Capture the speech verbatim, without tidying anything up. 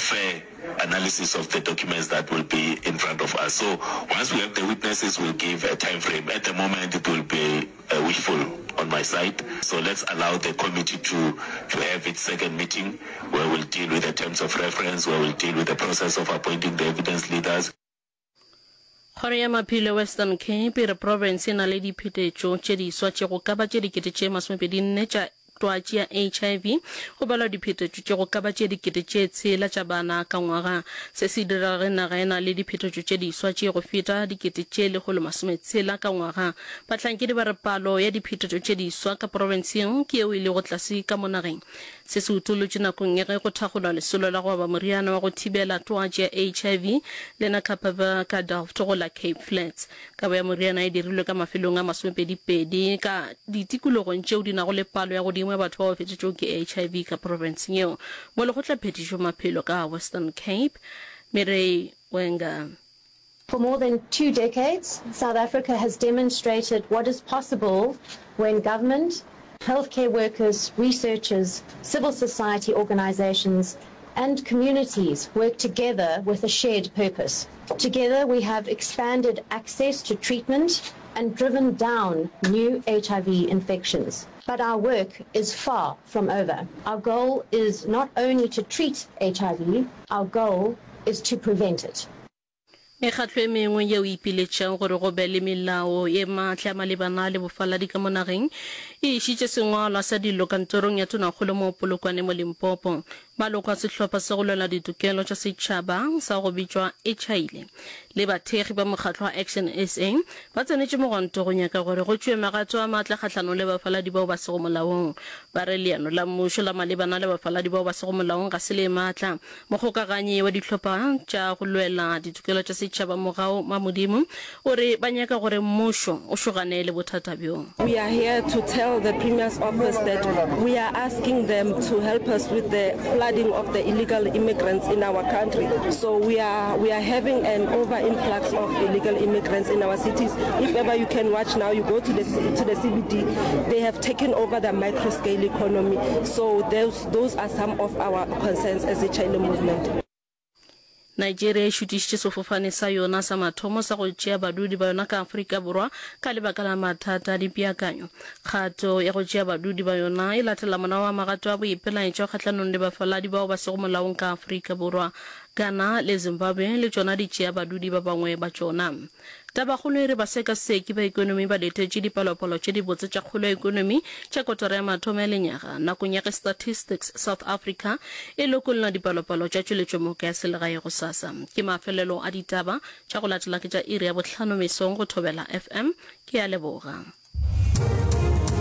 fair analysis of the documents that will be in front of us. So once we have the witnesses, we'll give a time frame. At the moment, it will be uh, wishful on my side. So let's allow the committee to, to have its second meeting where we'll deal with the terms of reference, where we'll deal with the process of appointing the evidence leaders. Kgoro ya Maphelo Western Cape e re profense e na le diphetetšo tše diswa tše go ka ba tše dikete tše masomepedi nne tša twatši ya H I V, go balwa diphetetšo tše go ka ba tše dikete tše tshela tša bana ka ngwaga. Se se direga ge naga e na le diphetetšo tše diswa tše go feta dikete tše lekgolo masometshela ka ngwaga. Bahlankedi ba re palo ya diphetetšo tše diswa ka profenseng ke yeo e lego tlase ka mo nageng. Se se utolotšwe nakong ya ge go thakgolwa lesolo la go aba moriana wa go thibela twatši ya H I V Lenacapavir ka Delft go la Cape Flats. Kabo ya moriana e dirilwe ka mafelong a masomepedi-pedi ka ditikologong tšeo di nago le palo ya godimo ya batho bao ba fetetšwego ke H I V ka profenseng yeo. Molekgotlaphethiši wa maphelo ka Western Cape, Mireille Wenger. For more than two decades, South Africa has demonstrated what is possible when government, healthcare workers, researchers, civil society organizations, and communities work together with a shared purpose. Together, we have expanded access to treatment and driven down new H I V infections. But our work is far from over. Our goal is not only to treat H I V, our goal is to prevent it. Mekgatlo e mengwe yeo e ipiletšago gore go be le melao ye maatla malebana le bofaladi ka mo nageng e išitše sengwalwa sa dillo kantorong ya Tonakgolo mo Polokwane mo Limpopo. Maloko a sehlopha sa go lwela ditokelo tša setšhaba sa go bitšwa Echaile le bathekgi ba mokgatlo wa Action S A ba tsenetše mogwanto go nyaka gore go tšewe magato a maatla kgahlanong le bafaladi bao ba sego molaong. Ba re leano la mmušo la malebana le bafaladi bao ba sego molaong ga se le maatla. Mokgokaganyi wa dihlopha tša go lwela ditokelo tša setšhaba Mogau Mamodimo o re ba nyaka gore mmušo o šogane le bothata bjo. We are here to tell the Premier's office that we are asking them to help us with the flooding of the illegal immigrants in our country. So we are we are having an over influx of illegal immigrants in our cities. If ever you can watch now, you go to the to the C B D, they have taken over the micro scale economy. So those those are some of our concerns as a China movement. Nigeria e šutišitše sefofane sa yona sa mathomo sa go tšea badudi ba yona ka Afrika Borwa ka lebaka la mathata a dipeakanyo. Kgato ya go tšea badudi ba yona e latela morago ga magato a boipelaetšo kgahlanong le bafaladi bao ba sego molaong ka Afrika Borwa. Ghana le Zimbabwe le tšona di tšea badudi ba bangwe ba tšona. Tabakgolo e re basekaseki ba ekonomi ba letetše dipalopalo tše dibotse tša kgolo ya ekonomi tša kotara ya mathomo ya lenyaga nakong ya ge Statistics South Africa e lokolla dipalopalo tša tšweletšomoka ya selegae gosasa. Ke mafelelo a ditaba tša go latela ke tša iri ya bohlano mesong go Thobela F M. Ke a leboga.